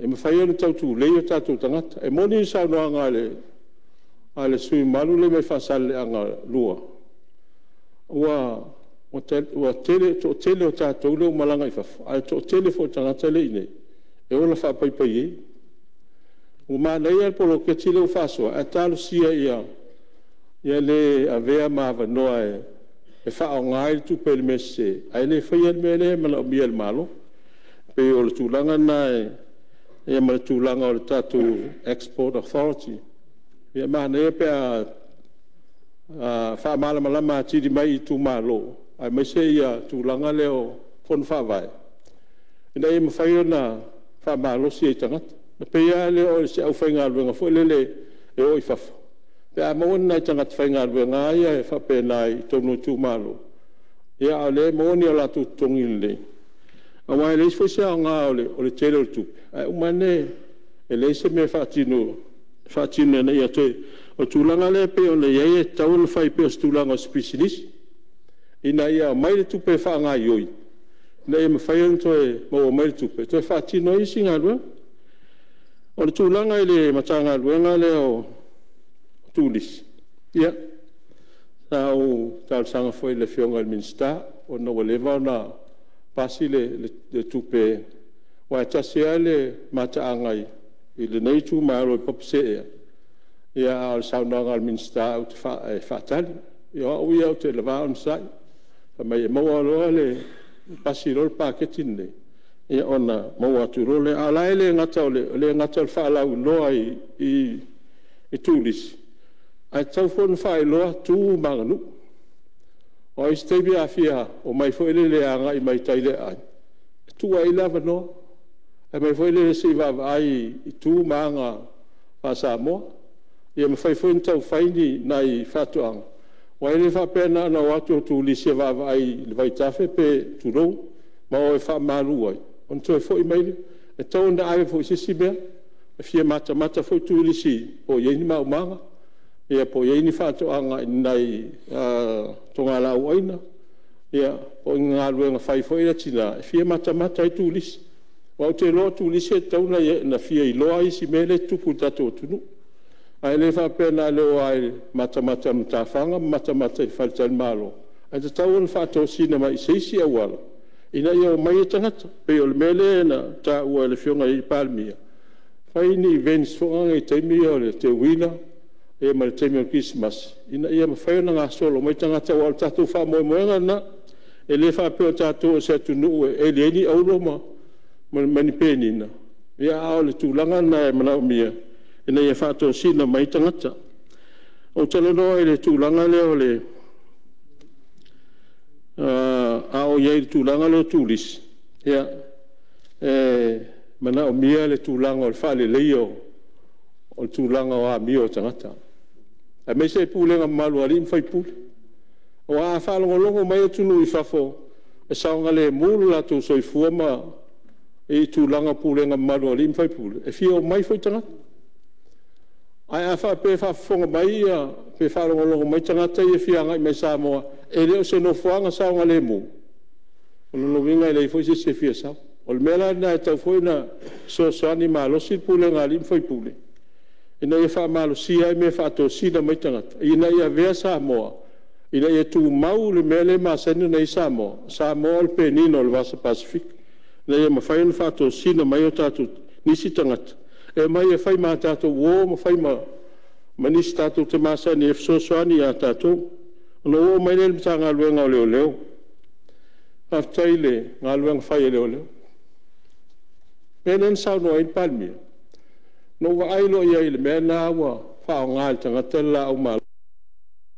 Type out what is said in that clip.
e mafai ona tau tulei o tatou tagata. E moni le saunoaga a le sui usufono mamalu lea mai Faasaleleaga 2, ua toatele o tatou lea ua malaga i fafo, ae toatele foi o tagata lea e i inei e ola faapaipai. Ua manaia le poloketi lea ua faasoa, ae talosia ia le avea ma avanoa e faaaoga ai le tupe i le mea sese, ae le faia le mea lea e manaomia e le Malo. E pei o le tulaga lena ma le tulaga o le tatou Export Authority. Ia e manaia pe a faamalamalama atili mai i itumalo, aemaise le tulaga lea o Fono Faavae, ina ia mafai ona faamalosi ai i tagata. E pei lava lea o se aufaigaluega foi lele e o i fafo, pe a maua ni nai tagata faigaluega lava ia faapena i totonu o itumalo, a o lea e maua ni o latou totogi lelei, aua e leai foi se aoga o le tele o le tupe, ae uma ane e leai se mea e faatino ina ia toe… O le tulaga lea pei ona i ai e tatau ona fai pei o se tulaga o se pisinisi, ina ia aumai le tupe e faagaoioi, ina ia mafai ona toe maua mai le tupe e toe faatino ai isi galuega. O le tulaga i le Matagaluega lea o Turisi, ia, sa ou talosaga foi i le Afioga i le Minisita ona ua leva ona pasi le tupe, aua e tasi lava le mataaga i lenei itumalo i Papaseea, a o le saunoaga a le Minisita e faatali. Ia o au ia ou te va onosai, fai mai e maua loa pasi loa le paketi lenei, ia ona maua atu loa lea. A o la e le gata o le faalauiloa i turisi, ae tatau foi ona faailoa tu ma aganuu. Aua o isi taimi a fia omai foi lele e agai mai tai i le aai, e tuu lava i ai le avanoa. Fai mai foi lele se i vaavaai i tu ma aga faa-Samoa. Ia mafai foi ona tau fai ni nai faatoaga, aua e le faapea na ona o atu o turisi e vaavaai i le vaitafe tulou, ma o e faamalu ai, ona toe foi mai lea. E tatau ona ave foi i se isi mea, e fia matamata foi turisi po o i ai ni maumaga, po o i ai ni faatoaga i ni nai togalaauaina, po o ni galuega fai foi a tina e fia matamata ai turisi. Aua ou te iloa o turisi e tatau ona fia iloa isi mea lea e tutupu i le tatou atunuu. Ae le faapea na o le o lava e matamata i matafaga ma matamata i faletalimalo, ae tatau ona faatosina mai i se isi auala ina ia omai ai tagata. E pei o le mea lea na taua e le Afioga i le Palemia, fai ni events foi nei i taimi ia o le teuila ma le taimi o le kerisimasi, ina ia mafai ona gasolo mai tagata, aua o le tatou faamoemoega lena. E le faapea o tatou o se atunuu e eli ai ni auro ma ni penina, a o le tulaga lena e manaomia ina ia faatosina mai ai tagata. Ou talanoa i le tulaga lea o le… A o i ai i le tulaga lea o turisi, ia, e manaomia le tulaga o le faaleleia o le tulaga o amio a tagata, aemaise le pulega mamalu a alii ma faipule. Aua a faalogologo mai atunuu i fafo e saogalemu lo latou soifua i tulaga o pulega mamalu a alii ma faipule, e fia omai foi tagata. Ae a faapea e faafofoga mai pe faalogologo mai tagata ia e fia agai mai i Samoa e le o se nofoaga saogalemu, o lona uiga e leai foi se isi e fia sau. O le mea la lena e tatau foi ona fesoasoani malosi le pulega a alii ma faipule ina ia faamalosia ai mea e faatosina mai tagata ina ia avea Samoa ina ia tumau le mea lea e masani ona i ai Samoa, o Samoa o le penina o le Vasa Pasefika, ina ia mafai ona faatosina mai nisi tagata e omai e fai ma tatou uo ma fai ma nisi tatou te masani ai e fesoasoani ia tatou. Ona ou oo mai lea i le Matagaluega o Leoleo. Faafetai i le galuega fai a leoleo. O le mea lea na saunoa ai le Palemia, na ou vaai loa i ai i le mea lena ua faaaoga e le tagata le laau